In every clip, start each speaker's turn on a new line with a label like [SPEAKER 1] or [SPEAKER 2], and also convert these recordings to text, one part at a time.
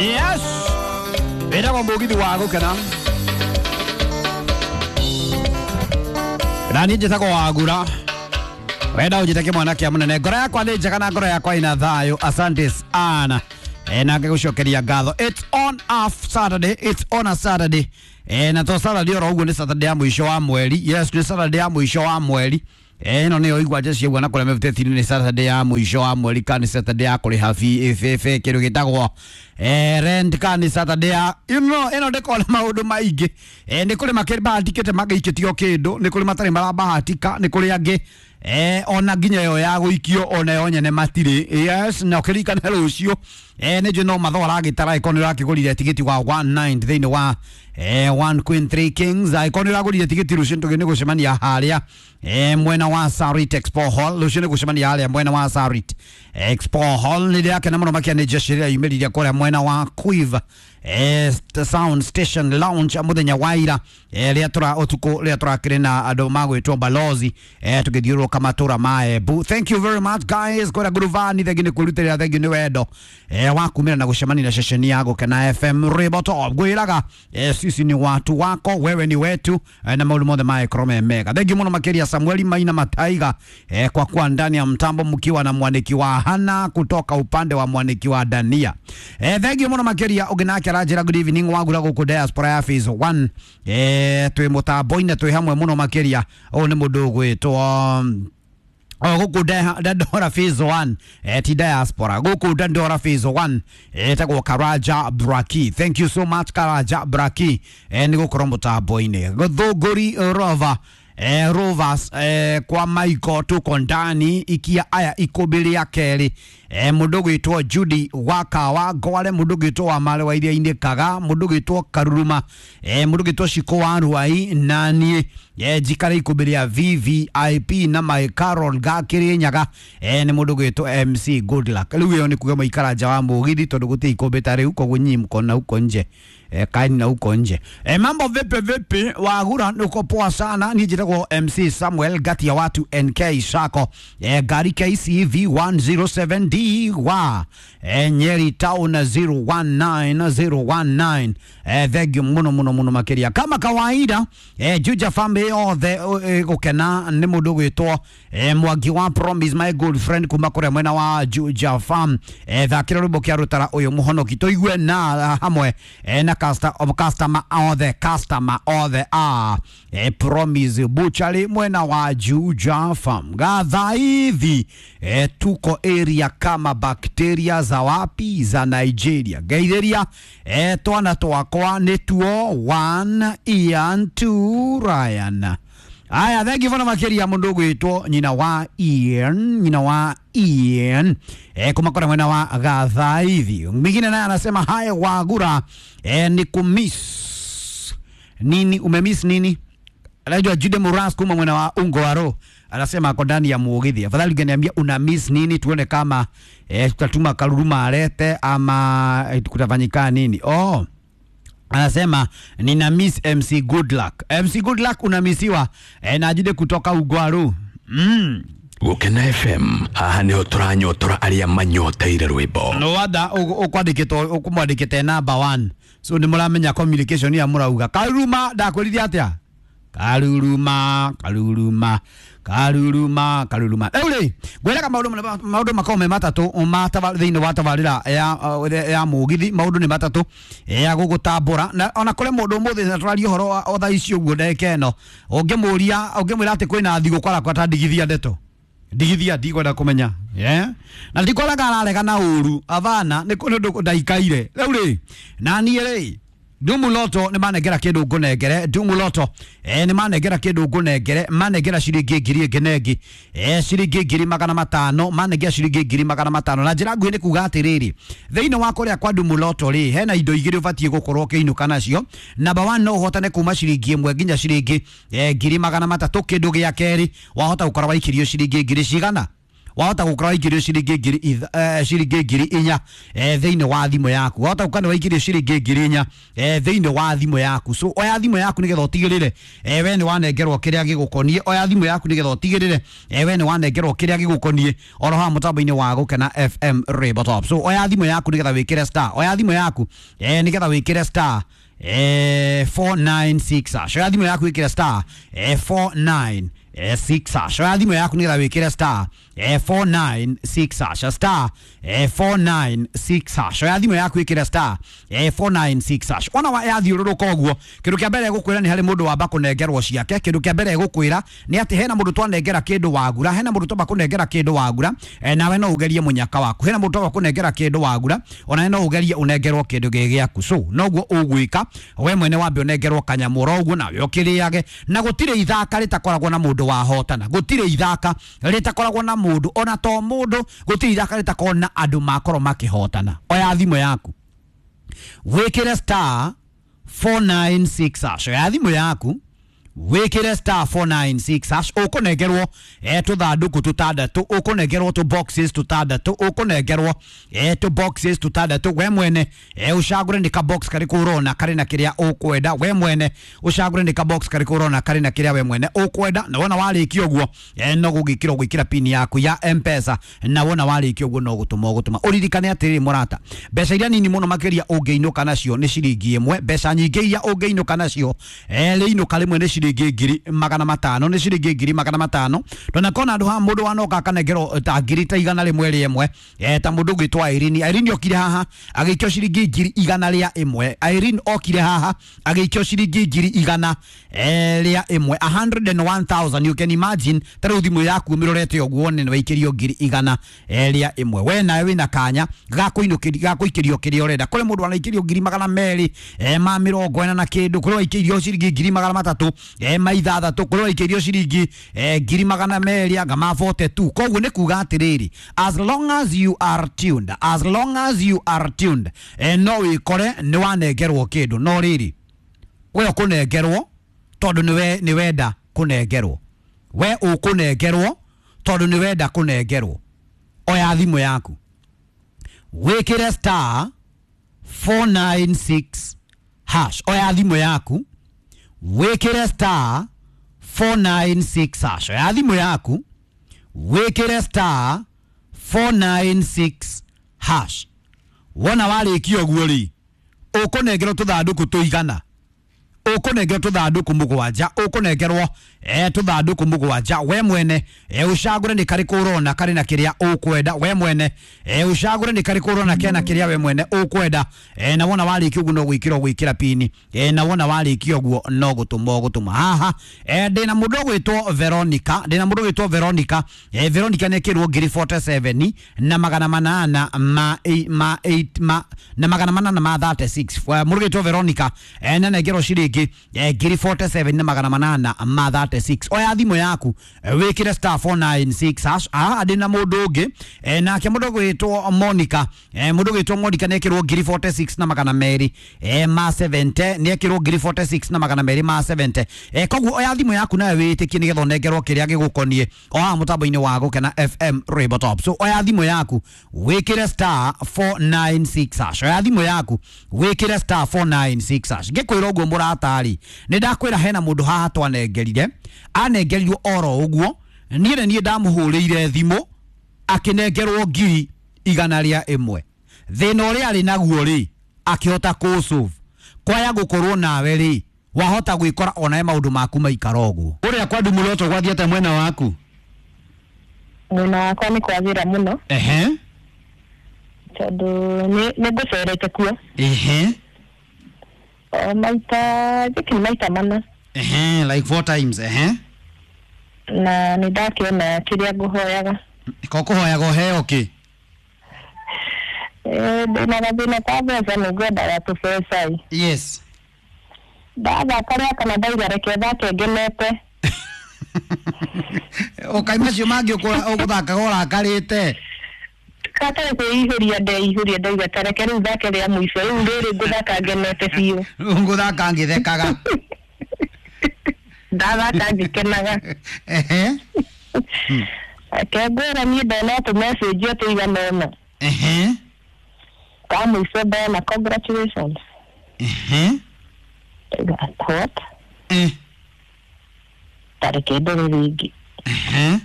[SPEAKER 1] Yes, wĩtagwo mũgithi wa gũkena na niĩ njĩtagwo Wagura. Wenda ũnjĩte kĩmwana kĩa mũnene. Ngoro yakwa nĩ njega na ngoro yakwa ina thayũ. Asante sana. Na ngĩgũcokeria ngatho. It's on a Saturday, it's on a Saturday. Na to Saturday oro ũguo, nĩ Saturday ya mũico wa mweri. Yes, nĩ Saturday ya mũico wa mweri. Ĩno nĩyo igua ciaigua na kũrĩa mĩbuteti nĩ Saturday ya mũico wa mweri kana nĩ Saturday ya kũrĩha fee kĩndũ gĩtagwo rent kana nĩ Saturday ya ĩno ndĩkorwo na maũndũ maingĩ. Nĩ kũrĩ makĩbahatikĩte magaikĩtio kĩndũ, nĩ kũrĩ matarĩ marabahatika, nĩ kũrĩ angĩ ona nginya ĩyo ya gũikio ona yo nyene matirĩ. Yes, na ũkĩririkane rũciũ nĩ njũĩ no mathoa aragĩtara ĩkorwo nĩ ũrakĩgũrire tigiti wa 19 thĩinĩ wa 1 Queen 3 Kings, angĩkorwo nĩ ũragũrire tigiti rũciũ tũgĩ nĩ gũcemania harĩa mwena wa Sarit Expo Hall. Rũciũ nĩ gũcemania harĩa mwena wa Sarit Expo Hall. Nĩ ndĩrakena mũno makĩria nĩ jeshi ĩrĩa yumĩrire kũrĩa mwena wa Quiver Sound Station Lounge mũthenya wa ira, rĩrĩa tũra ũtukũ rĩrĩa tũrakĩrĩ na andũ magwĩtwo Balozi, tũgĩthiũrũrũka matũra ma Embu. Thank you very much guys kũrĩa nguruvani, thengi nĩ kwĩrutĩrĩra, thengi nĩ wendo wa kumĩra na gũcemania na ceceni ya Gũkena FM Rĩboto. Ngwĩraga sisi ni watu wako, wewe ni wetu, na maũndũ mothe magĩkorwo me mega. Thengi mũno makĩria Samueli Maina Mataiga, kwa kuwa ndani ya mtambo mkiwa na mwaniki wa Hana kutoka upande wa mwaniki wa Dania. Thengi mũno makĩria. Ũngĩ nake aranjĩra good evening Wagura gũkũ diaspora ya phase 1, twĩ mũtambo-inĩ twĩ hamwe mũno makĩria. Ũyũ nĩ mũndũ ũgwĩtwo o gũkũ Dandora phase 1, ti diaspora, gũkũ Dandora phase 1, etagwo Karaja Braki. Thank you so much Karaja Braki, nĩ gũkorwo mũtambo-inĩ. Gũthũngũri Rover, Rovers, kwa Michael tuko ndani ikia aya ikũmbĩ rĩa kerĩ. Mũndũ gwĩtwo Judy Wakawa Ngware, mũndũ gwĩtwo wa Mare wa Iria-inĩ Kaga, mũndũ gwĩtwo Karuruma, mũndũ gwĩtwo Shiko wa Ruai, na niĩ njikare ikũmbĩ rĩa VVIP na my Carol Gakĩrĩnyaga, nĩ mũndũ gwĩtwo MC Goodluck. Rĩu ĩyo nĩ kuga maikara nja wa mũgithi tondũ gũtirĩ ikũmbĩ ta rĩu, koguo nyinyi mko na huko nje, kaeni na huko nje. Mambo vipi vipi Wagura, niko poa sana. Niĩ njĩtagwo MC Samuel gati ya watu NK Sako, gari KCV 107D wa Nyeri Town 019019. Thank you muno muno muno makĩria kama kawaida. Juja family yothe gũkena nĩ mũndũ gwĩtwo Mwangi wa Promise, my good friend kuma kũrĩa mwena wa Juja Farm. Thakĩra rwĩmbo kĩa rũtara ũyũ mũhonoki tũigue na hamwe na customer othe, customer othe a Promise Butchery mwena wa Juja Farm. Gathaithi tuko area kama bakteria za wapi, za Nigeria. Geithĩria twana twakwa nĩtuo 1 Ian 2 Ryan. Aya, thank you mũno makĩria mũndũ ũgwĩtwo nyina wa Ian, nyina wa Ian, kuma kũrĩa mwena wa Gathaithi. Mwingine naye anasema haya Wagura, ni kumiss nini, umemiss nini? Anaitwa Jude Muras kuma mwena wa Ungwaro, anasema ako ndani ya mugithi. Afadhali ungeniambia una miss nini tuone kama tutatuma Karuruma alete ama kutafanyika nini. Oh, anasema nina miss MC Goodluck. MC Goodluck unamisiwa na Jude kutoka Ungwaro.
[SPEAKER 2] Gũkena FM, haha nĩho tũranyotora arĩa manyoteire rwĩmbo.
[SPEAKER 1] No wanda ũkwandĩkĩtwo ũkũmwandĩkĩte number 1, so nĩ mũramenya communication ya mũrauga. Karuruma ndakwĩrire atĩa? Karuruma, Karuruma, Karuruma, Karuruma. Rĩu rĩ ngwĩraga maũndũ makorwo me matatũ ma thĩinĩ wa tabarĩra ya mũgithi. Maũndũ nĩ matatũ ya gũgũtambũra na ona kũrĩ mũndũ ũmũthĩ na tũraria ũhoro wa thaa ici ũguo ndagĩka ĩno, ũngĩmũria ũngĩmwĩra atĩ kwĩna thigũkũ arakwa ta ndigithia ndeto ndigithia ndikwenda kũmenya, yeah? Na ndikoraga ararega na ũru avana nĩ ũndũ ndaikaire. Rĩu rĩ na niĩ rĩ Dumu Loto nĩ manengera kĩndũ ngũnengere. Dumu Loto nĩ manengera kĩndũ ngũnengere, manengera ciringi ngiri ĩngĩ na ĩngĩ, ciringi 500,000, manengera ciringi 500,000. Na njĩra nguhĩ nĩ kuga atĩrĩrĩ, thĩinĩ wa kũrĩa kwa Dumu Loto rĩ, hena indo igĩrĩ ũbatiĩ gũkorwo ũkĩinũka nacio. Number 1 no ũhotane kuma ciringi 1 nginya ciringi 300,000. Kĩndũ gĩa kerĩ wahota gũkorwo waikĩrio ciringi ngiri cigana. Wahota gukora waikĩrio ciringi ngiri ciringi 4,000 thĩinĩ wa thimũ yaku. Wahota gũkora nĩ waikĩrio ciringi 4,000 thĩinĩ wa thimũ yaku. So oya thimũ yaku nĩgetha ũtigĩrĩre we nĩ wanengerwo kĩrĩa gĩgũkoniĩ. Oya thimũ yaku nĩgetha ũtigĩrĩre we nĩ wanengerwo kĩrĩa gĩgũkoniĩ oro haha mũtambo-inĩ wa Gũkena FM Rainbow Top. So oya thimũ yaku nĩgetha wĩkĩre star. Oya thimũ yaku nĩgetha wĩkĩre star 496 hash. Oya thimũ yaku wĩkĩre star 49 6 hash. Oya thimũ yaku nĩgetha wĩkĩre star 496 hash. Star 496 hash. Oya thimũ yaku wĩkĩre star 496 hash. Ona wa yathiũrũrũka ũguo, kĩndũ kĩa mbere gũkwĩra nĩ harĩ mũndũ wamba kũnengerwo ciake. Kĩndũ kĩa mbere gũkwĩra nĩ atĩ hena mũndũ twanengera kĩndũ wagura, hena mũndũ twamba kũnengera kĩndũ wagura, nawe no ũgerie mũnyaka waku. Hena mũndũ twamba kũnengera kĩndũ wagura, onawe no ũgerie ũnengerwo kĩndũ gĩ gĩaku. So noguo ũgwĩka we mwene wambe ũnengerwo kanyamũ oro ũguo nawe ũkĩrĩage. Na gũtirĩ ithaka rĩtakoragwo na mũndũ wahotana, gũtirĩ ithaka rĩtakoragwo na mũndũ ona to mũndũ, gũtirĩ ithaka rĩtakoragwo na andũ makorwo makĩhotana. Oya thimũ yaku wĩkĩre star 496 hash. Oya thimũ yaku wĩkĩre star 496 hash. Ũkũnengerwo tũthandũkũ tũtandatũ, ũkũnengerwo tũ boxes tũtandatũ, ũkũnengerwo tũ boxes tũtandatũ. We mwene ũcagũre nĩ ka box karĩkũ ũrona karĩ na kĩrĩa ũkwenda. We mwene ũcagũre nĩ ka box karĩkũ ũrona karĩ na kĩrĩa we mwene ũkwenda. Na wona warĩkia ũguo no gũgĩkĩra ũgwĩkĩra pin yaku ya M-Pesa, na wona warĩkia ũguo no gũtũma ũgũtũma. Ũririkane atĩrĩrĩ mũrata, mbeca iria nini mũno makĩria ũngĩinũka nacio nĩ ciringi 1. Mbeca nyingĩ iria ũngĩinũka nacio rĩinũka rĩmwe nĩ ciringi 500,000, nĩ ciringi 500,000. Ndonakona andũ haha mũndũ wanoka akanengerwo ta ngiri ta 101 ta mũndũ ũgwĩtwo Irene. Irene okire haha agĩikio ciringi 101,000. Irene okire haha agĩikio ciringi 101,000, 101,000. You can imagine ta rĩu thimũ yaku ũmĩrorete ũguo wone nĩ waikĩrio 101,000. We nawe wĩna kanya ga gũikĩrio kĩrĩa ũrenda. Kũrĩ mũndũ wanaikĩrio 240 na kĩndũ, kũrĩ waikĩrio ciringi 300 6, kũrĩ waikĩrio ciringi 200 anga ma 42. Koguo nĩ kuga atĩrĩrĩ, as long as you are tuned, as long as you are tuned, no wĩkore nĩ wanengerwo kĩndũ. No rĩrĩ, we ũkũnengerwo tondũ nĩ wenda kũnengerwo. We ũkũnengerwo tondũ nĩ wenda kũnengerwo. Oya thimũ yaku wĩkĩre star 496 hash. Oya thimũ yaku wĩkĩre star 496 hash. Oya thimũ yaku wĩkĩre star 496 hash. Wona warĩkia ũguo rĩ, ũkũnengerwo tũthandũkũ tũigana, ũkũnengerwo tũthandũkũ mũgwanja, ũkũnengerwo tũthandũkũ mũgwanja. We mwene ũcagũre nĩ karĩkũ ũrona karĩ na kĩrĩa ũkwenda. We mwene ũcagũre nĩ karĩkũ ũrona kena kĩrĩa we mwene ũkwenda. Na wona warĩkia ũguo no gwĩkĩra ũgwĩkĩra pini, na wona warĩkia ũguo no gũtũma ũgũtũma. Haha ndĩna mũndũ ũgwĩtwo Veronica, ndĩna mũndũ ũgwĩtwo Veronica. Veronica nĩ ekĩrwo 47 na magana manana ma ma 8 ma na magana manana ma 36. Mũndũ ũgwĩtwo Veronica nĩanengerwo ciringi 47 na magana manana ma 36. Oya thimũ yaku wĩkĩre star 496 hash. Haha ndĩna mũndũ ũngĩ nake mũndũ ũgwĩtwo Monica. Mũndũ ũgwĩtwo Monica nĩekĩrwo 46 na magana merĩ ma 70, nĩekĩrwo 46 na magana merĩ ma 70. Koguo oya thimũ yaku nawe wĩtĩkie nĩgetha ũnengerwo kĩrĩa gĩgũkoniĩ o haha mũtambo-inĩ wa Gũkena FM Rainbow Top. So oya thimũ yaku wĩkĩre star 496 hash. Oya thimũ yaku wĩkĩre star 496 hash. Ngĩkwĩra ũguo mũratari, nĩ ndakwĩra hena mũndũ haha twanengerire, anengerirwo oro ũguo. Niĩ nĩ niĩ ndamũhũrĩire thimũ akĩnengerwo 101,000. Thĩna ũrĩa arĩ naguo rĩ, akĩhota kũsolve. Kwaya gũkorwo nawe rĩ, wahota gwĩkora onawe maũndũ maku maikara ũguo. Ũrĩa kwa Ndumuroto gwathiĩte mwena waku?
[SPEAKER 3] Mwena wakwa nĩ kwagĩra mũno.
[SPEAKER 1] Ehe.
[SPEAKER 3] Tondũ nĩ ngũcerete kuo.
[SPEAKER 1] Ehe.
[SPEAKER 3] O maita, njĩkĩ maita mana.
[SPEAKER 1] Ehe, like 4 times. Ehe.
[SPEAKER 3] Na nĩ ndakĩona kĩrĩa ngũhoyaga.
[SPEAKER 1] Ko kũhoyaga ũheo kĩ?
[SPEAKER 3] Ndĩna gathĩna ka mbeca, nĩ ngwendaga tũbeca.
[SPEAKER 1] Yes.
[SPEAKER 3] Ndathaka rĩa kana ndauga reke thake ngenete.
[SPEAKER 1] Ũkai macio mangĩ ũgũthakaga ũrakarĩte.
[SPEAKER 3] Katarĩ kwĩihũria ndeihũria, ndauga ta reke rĩu thake rĩa mũico, rĩu rĩrĩ ngũthaka ngenete biũ.
[SPEAKER 1] Rĩu ngũthaka ngĩthekaga.
[SPEAKER 3] Ndathaka ngĩkenaga.
[SPEAKER 1] Ehe.
[SPEAKER 3] Kengwĩra niĩ ndona tũmessage tũigana ũna.
[SPEAKER 1] Ehe.
[SPEAKER 3] Ka mũico ndona congratulations.
[SPEAKER 1] Ehe.
[SPEAKER 3] Ndauga what?
[SPEAKER 1] Eh.
[SPEAKER 3] Tareke ndore rĩngĩ.
[SPEAKER 1] Ehe.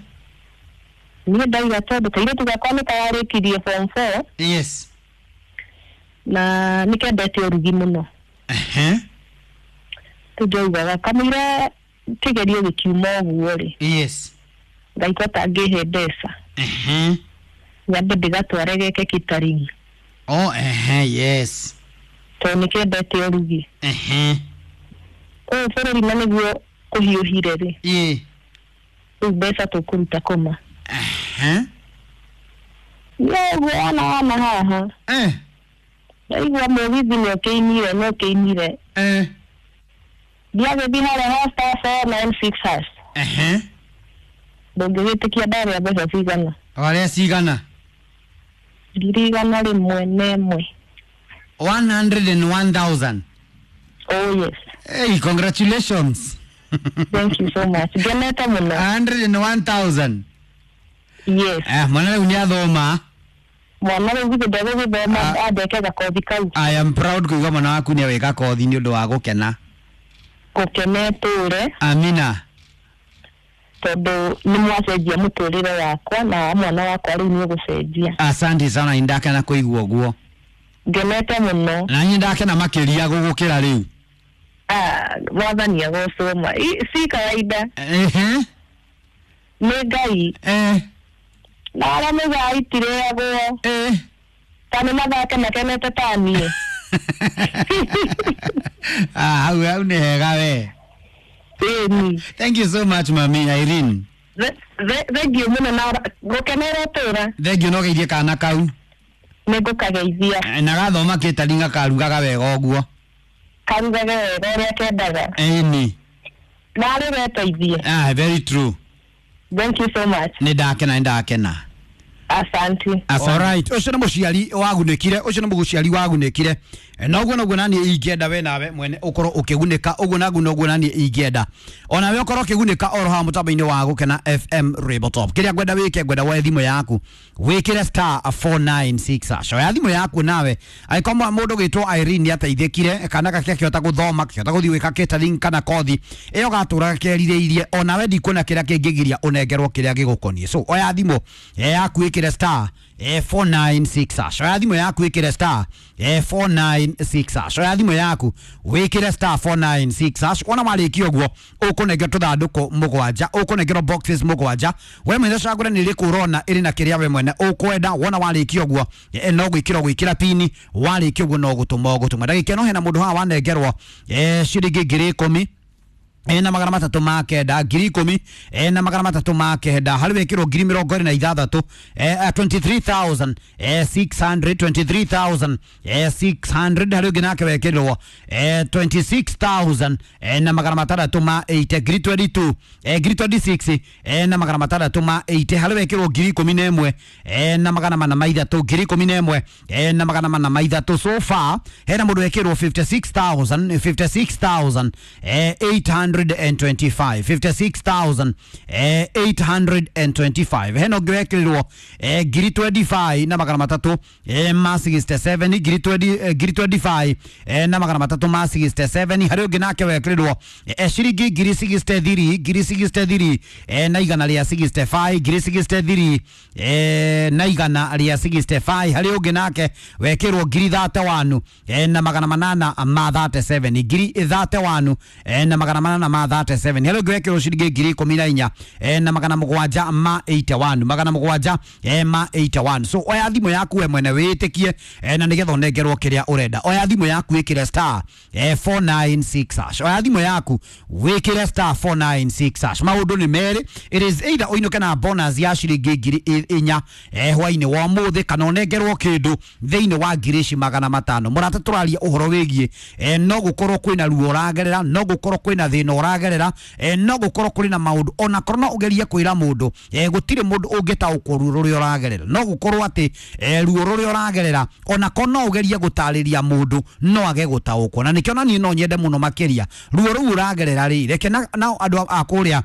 [SPEAKER 3] Niĩ ndauga tondũ kairĩtu gakwa nĩ kararĩkirie form 4
[SPEAKER 1] Yes.
[SPEAKER 3] na nĩ kendete ũrugi mũno.
[SPEAKER 1] Ehe.
[SPEAKER 3] Rĩu ndaugaga kamũira kĩgerio gĩkiuma ũguo rĩ,
[SPEAKER 1] Yes.
[SPEAKER 3] Ngai ko tangĩhe mbeca
[SPEAKER 1] Ehe.
[SPEAKER 3] nyambe ndĩgatware geke catering
[SPEAKER 1] Oh, ehe, yes.
[SPEAKER 3] tondũ nĩ kendete ũrugi.
[SPEAKER 1] Ehe.
[SPEAKER 3] Ũyũ bũrũri na nĩguo kũhiũhire rĩ,
[SPEAKER 1] Ye.
[SPEAKER 3] rĩu mbeca tũkũruta kũma.
[SPEAKER 1] Ehe.
[SPEAKER 3] No ũguo wana wana haha
[SPEAKER 1] Eh.
[SPEAKER 3] ndaigua mũgithi nĩ ũkĩinire nĩ ũkĩinire.
[SPEAKER 1] Eh.
[SPEAKER 3] Ndiagĩthiĩ harĩa ha *496#.
[SPEAKER 1] Ehe.
[SPEAKER 3] Ndũngĩgĩtĩkia ndarĩa mbeca cigana.
[SPEAKER 1] Warĩa cigana?
[SPEAKER 3] 101,000.
[SPEAKER 1] 101,000.
[SPEAKER 3] Oh yes.
[SPEAKER 1] Hey, congratulations.
[SPEAKER 3] Thank you so much. Ngenete mũno.
[SPEAKER 1] 101,000.
[SPEAKER 3] Yes.
[SPEAKER 1] Eh, mwana rĩu nĩ athoma.
[SPEAKER 3] Mwana rĩu githĩ ndegũgĩthoma andeke gakothi kau.
[SPEAKER 1] I am proud kũigua mwana waku nĩ awĩka kothi nĩ ũndũ wa gũkena.
[SPEAKER 3] Gũkena tũre
[SPEAKER 1] Amina.
[SPEAKER 3] tondũ nĩ mwacenjia mũtũrĩre wakwa na wa mwana wakwa rĩu nĩ ũgũcenjia.
[SPEAKER 1] Asante sana nĩ ndakena kũigua ũguo.
[SPEAKER 3] Ngenete mũno.
[SPEAKER 1] Na niĩ ndakena makĩria gũgũkĩra rĩu.
[SPEAKER 3] Ah, mwathani agocwo ma. Si kawaida.
[SPEAKER 1] Ehe.
[SPEAKER 3] Nĩ Ngai.
[SPEAKER 1] Eh.
[SPEAKER 3] Na arĩa maugaga itirĩagwo.
[SPEAKER 1] Eh.
[SPEAKER 3] Ta nĩ mathake makenete ta niĩ.
[SPEAKER 1] Ah, hau hau nĩ hega we.
[SPEAKER 3] Ĩni.
[SPEAKER 1] Thank you so much mami Irene.
[SPEAKER 3] Thengiũ mũno na gũkenera ũtũra.
[SPEAKER 1] Thank you no geithie kana kau.
[SPEAKER 3] Nĩ ngũkageithia.
[SPEAKER 1] Na gathoma catering gakarugaga wega ũguo.
[SPEAKER 3] Karugage wega ũrĩa kendaga.
[SPEAKER 1] Ĩni.
[SPEAKER 3] Na arĩ weteithie.
[SPEAKER 1] Ah, very true.
[SPEAKER 3] Thank you so much.
[SPEAKER 1] Nĩ ndakena nĩ ndakena.
[SPEAKER 3] Asante.
[SPEAKER 1] Alright, ũcio nĩ mũciari wagunĩkire, ũcio nĩ mũciari wagunĩkire. Na ũguo noguo naniĩ ingĩenda we nawe mwene ũkorwo ũkĩgunĩka, ũguo naguo noguo naniĩ ingĩenda. Onawe ũkorwo ũkĩgunĩka oro haha mũtambo-inĩ wa Gũkena FM Rainbow Top. Kĩrĩa ngwenda wĩke, ngwenda woe thimũ yaku, wĩkĩre *496#. Oya thimũ yaku nawe, angĩkorwo mũndũ gwĩtwo Irene nĩateithĩkire, kana gake akĩhota gũthoma, akĩhota gũthiĩ gwĩka catering kana kothi, ĩyo gatũraga kerirĩirie, onawe ndikuona kĩrĩa kĩngĩgiria ũnengerwo kĩrĩa gĩgũkoniĩ. So oya thimũ yaku ĩkĩre *496#. Oya thimũ yaku ĩkĩre *496#. Oya thimũ yaku wĩkĩre *496#. Wona warĩkia ũguo ũkũnengerwo tũthandũkũ mũgwanja, ũkũnengerwo boxes mũgwanja. We mwene cagũre nĩ ĩrĩkũ ũrona ĩrĩ na kĩrĩa we mwene ũkwenda. Wona warĩkia ũguo no gwĩkĩra ũgwĩkĩra pini, warĩkia ũguo no gũtũma ũgũtũma. Ndagĩka ĩno hena mũndũ haha wanengerwo ciringi 10,000 ena 390, 10,000 ena 390, harĩ wĩkĩrwo 26,000, 23,600, 23,600, harĩ ũngĩ nake wekĩrwo 26,000 na 680, 22,000, 26 na 680, harĩ wekĩrwo 11,300, 11,403. So far hena mũndũ wekĩrwo 56,000, 56,825, 56,825. Hena ũngĩ wekĩrirwo 25 na 367, 25 na 367. Harĩ ũngĩ nake wekĩrirwo ciringi 63, 63 na 165, 63 na 165. Harĩ ũngĩ nake wekĩrwo 31 na 837, 31 na 837. Harĩ ũngĩ wekĩrwo ciringi 14,000 na 781, 781. So oya thimũ yaku we mwene wĩtĩkie na nĩgetha ũnengerwo kĩrĩa ũrenda. Oya thimũ yaku wĩkĩre *496#. Oya thimũ yaku wĩkĩre *496#. Maũndũ nĩ merĩ, it is either ũinũke na bonus ya ciringi 4,000 hwainĩ wa ũmũthĩ, kana ũnengerwo kĩndũ thĩinĩ wa 500,000. Mũrata, tũraria ũhoro wĩgiĩ no gũkorwo kwĩna ruo ũragerera, no gũkorwo kwĩna thĩna ũragerera, no gũkorwo kũrĩ na maũndũ ona korwo no ũgerie kwĩra mũndũ, gũtirĩ mũndũ ũngĩtaũkwo ruo rũrĩa ũragerera. No gũkorwo atĩ ruo rũrĩa ũragerera ona korwo no ũgerie gũtarĩria mũndũ no age gũtaũkwo, na nĩkĩo na niĩ no nyende mũno makĩria ruo rũu ũragerera rĩ, reke nao andũ a kũrĩa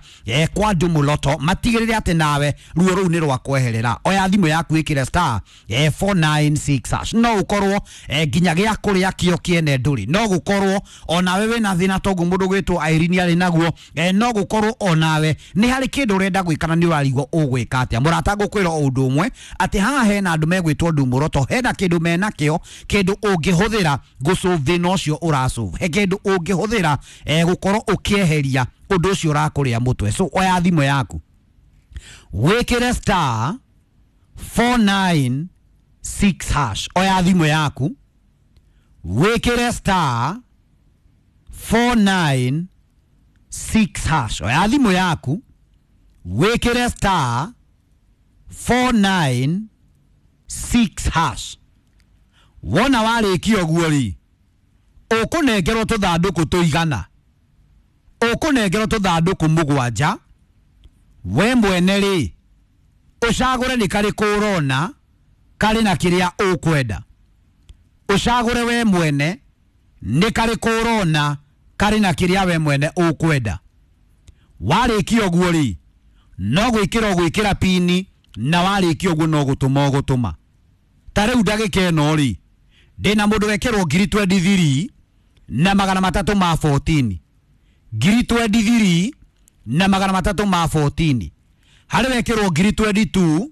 [SPEAKER 1] kwa Ndumuloto matigĩrĩre atĩ nawe ruo rũu nĩ rwakweherera. Oya thimũ yaku ĩkĩre star 496 hash. No ũkorwo nginya gĩa kũrĩa kĩo kĩene ndũrĩ, no gũkorwo onawe wĩna thĩna toguo mũndũ gwĩtwo Irene arĩ naguo, no gũkorwo onawe nĩ harĩ kĩndũ ũrenda gwĩka na nĩ ũrarigwo ũgwĩka atĩa. Mũrata ngũkwĩra o ũndũ ũmwe atĩ haha hena andũ megwĩtwo Ndumuroto, hena kĩndũ menakĩo, kĩndũ ũngĩhũthĩra gũsolve thĩna ũcio ũrasolve, he kĩndũ ũngĩhũthĩra gũkorwo ũkĩeheria ũndũ ũcio ũrakũrĩa mũtwe. So oya thimũ yaku wĩkĩre star 496 hash. Oya thimũ yaku wĩkĩre star 496 hash. Oya thimũ yaku wĩkĩre star 496 hash. Wona warĩkia ũguo rĩ, ũkũnengerwo tũthandũkũ tũigana, ũkũnengerwo tũthandũkũ mũgwanja. We mwene rĩ, ũcagũre nĩ karĩkũ ũrona karĩ na kĩrĩa ũkwenda. Ũcagũre we mwene nĩ karĩkũ ũrona karĩ na kĩrĩa we mwene ũkwenda. Warĩkia ũguo rĩ, no gwĩkĩra ũgwĩkĩra pini, na warĩkia ũguo no gũtũma ũgũtũma. Ta rĩu ndagĩka ĩno rĩ, ndĩna mũndũ wekĩrwo ngiri 23 na magana matatũ ma 14, ngiri 23 na magana matatũ ma 14. Harĩ wekĩrwo ngiri 22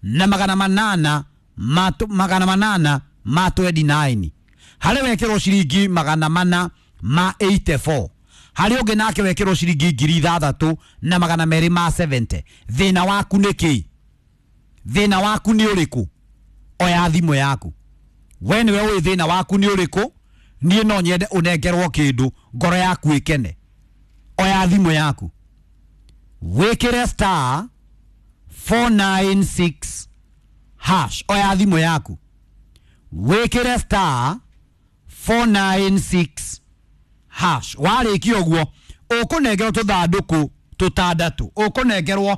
[SPEAKER 1] na magana manana ma magana manana ma 29. Harĩ wekĩrwo ciringi magana mana ma 84. Harĩ ũngĩ nake wekĩrwo ciringi ngiri ithathatũ na magana merĩ ma 70. Thĩna waku nĩ kĩ? Thĩna waku nĩ ũrĩkũ? Oya thimũ yaku. We nĩwe ũĩ thĩna waku nĩ ũrĩkũ. Niĩ no nyende ũnengerwo kĩndũ ngoro yaku ĩkene. Oya thimũ yaku wĩkĩre star 496 hash. Oya thimũ yaku wĩkĩre star 496 hash. Warĩkia ũguo ũkũnengerwo tũthandũkũ tũtandatũ, ũkũnengerwo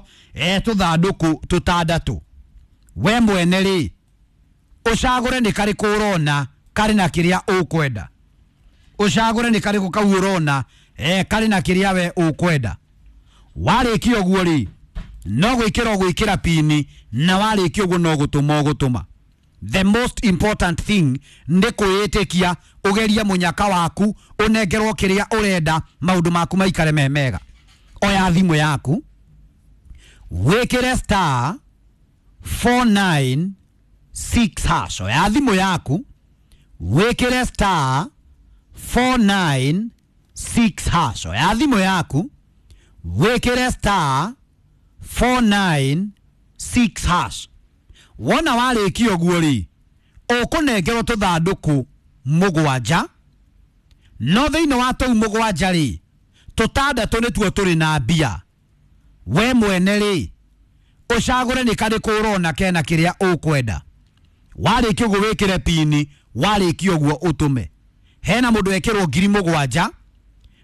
[SPEAKER 1] tũthandũkũ tũtandatũ. We mwene rĩ, ũcagũre nĩ karĩkũ ũrona karĩ na kĩrĩa ũkwenda. Ũcagũre nĩ karĩkũ kau ũrona karĩ na kĩrĩa we ũkwenda. Warĩkia ũguo rĩ, no gwĩkĩra ũgwĩkĩra pini, na warĩkia ũguo no gũtũma ũgũtũma. The most important thing nĩ kwĩĩtĩkia, ũgerie mũnyaka waku, ũnengerwo kĩrĩa ũrenda, maũndũ maku maikare me mega. Oya thimũ yaku wĩkĩre star 496 hash. Oya thimũ yaku wĩkĩre star 496 hash. Oya thimũ yaku wĩkĩre star 496 hash. Wona warĩkia ũguo rĩ, ũkũnengerwo tũthandũkũ mũgwanja, no thĩinĩ wa tũu mũgwanja rĩ, tũtandatũ nĩtuo tũrĩ na mbia. We mwene rĩ, ũcagũre nĩ karĩkũ ũrona kena kĩrĩa ũkwenda. Warĩkia ũguo wĩkĩre pini, warĩkia ũguo ũtũme. Hena mũndũ wekĩrwo ngiri mũgwanja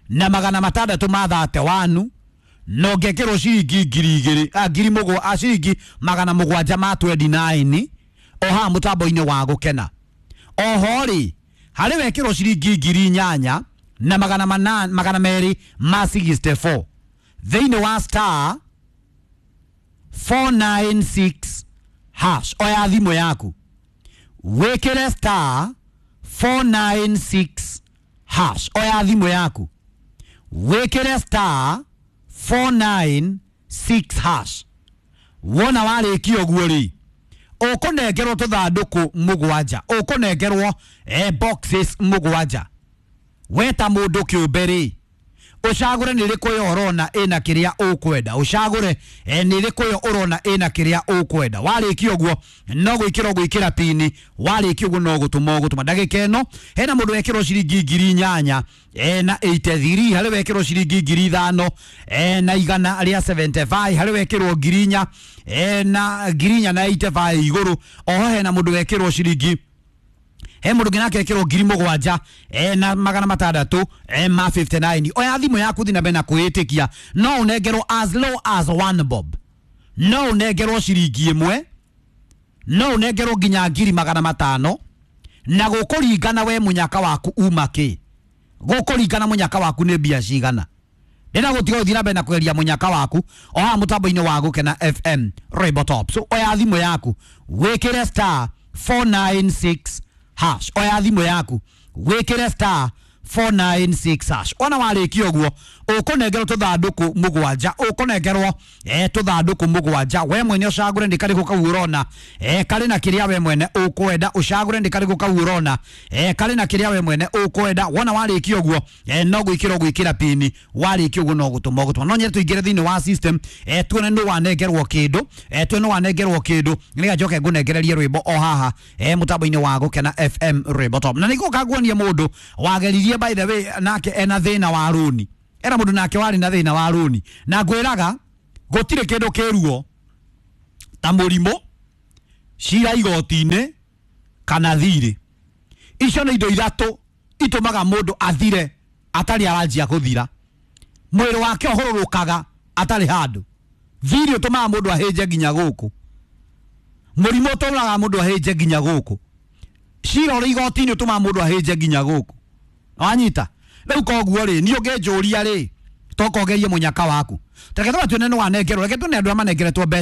[SPEAKER 1] na magana matandatũ ma 31, no ngekĩrwo ciringi ngiri igĩrĩ, ngiri mũgwa, ciringi magana mũgwanja ma 29 o haha mũtambo-inĩ wa gũkena. Oho rĩ, harĩ wekĩrwo ciringi ngiri inyanya na magana manana, magana merĩ ma 64 thĩinĩ wa star 496 hash. Oya thimũ yaku wĩkĩre star 496 hash. Oya thimũ yaku wĩkĩre star 496 hash. Wona warĩkia ũguo rĩ, ũkũnengerwo tũthandũkũ mũgwanja, ũkũnengerwo boxes mũgwanja. We ta mũndũ kĩũmbe rĩ, ũcagũre nĩ rĩkũ ĩyo ũrona ĩna kĩrĩa ũkwenda. Ũcagũre nĩ rĩkũ ĩyo ũrona ĩna kĩrĩa ũkwenda. Warĩkia ũguo no gwĩkĩra ũgwĩkĩra pini, warĩkia ũguo no gũtũma ũgũtũma. Ndagĩka ĩno hena mũndũ wekĩrwo ciringi ngiri inyanya na 83, harĩ wekĩrwo ciringi ngiri ithano na igana rĩa 75, harĩ wekĩrwo ngiri inya na ngiri inya na 85 igũrũ. Oho hena mũndũ wekĩrwo ciringi, He mũndũ ũngĩ nake ekĩrwo 7,000 na 600 ma 59. Oya thimũ yaku thiĩ na mbere na kwĩĩtĩkia, no ũnengerwo as low as 1 bob, no ũnengerwo ciringi 1, no ũnengerwo nginya 500,000, na gũkũringana we mũnyaka waku uma kĩ, gũkũringana mũnyaka waku nĩ mbia cigana. Ndĩna gũtiga ũthiĩ na mbere na kweria mũnyaka waku o haha mũtambo-inĩ wa Gũkena FM Rainbow Top. So oya thimũ yaku wĩkĩre star 496 hash. Oya thimũ yaku wĩkĩre star 496 hash. Ona warĩkia ũguo ũkũnengerwo tũthandũkũ 7, ũkũnengerwo tũthandũkũ 7. We mwene ũcagũre nĩ karĩkũ kau ũrona karĩ na kĩrĩa we mwene ũkwenda, ũcagũre nĩ karĩkũ kau ũrona karĩ na kĩrĩa we mwene ũkwenda. Wona warĩkia ũguo no gwĩkĩra ũgwĩkĩra pini, warĩkia ũguo no gũtũma ũgũtũma. No nyende tũingĩre thĩinĩ wa system tuone nũ wanengerwo kĩndũ, tuone nũ wanengerwo kĩndũ, nĩgetha njoke ngũnengererie rwĩmbo o haha mũtambo-inĩ wa Gũkena FM Rainbow Top. Na nĩngũka nguonie mũndũ wageririe, by the way, nake ena thĩna wa rũni, era mũndũ nake warĩ na thĩna wa rũni, na ngwĩraga gũtirĩ kĩndũ kĩruo ta mũrimũ, cira igoti-inĩ kana thirĩ. Icio nĩ indo ithatũ itũmaga mũndũ athire atarĩ aranjia gũthira. Mwĩrĩ wake ũhũrũrũkaga atarĩ handũ. Thirĩ ũtũmaga mũndũ ahĩnje nginya gũkũ, mũrimũ ũtũmaga mũndũ ahĩnje nginya gũkũ, cira ũrĩ igoti-inĩ ũtũmaga mũndũ ahĩnje nginya gũkũ. Wanyita? Rĩu koguo rĩ, niĩ ũngĩnjũria rĩ, toka ũgerie mũnyaka waku. Reke tũba tuone nĩ wanengerwo, reke tuone andũ arĩa manengeretwo mbeca.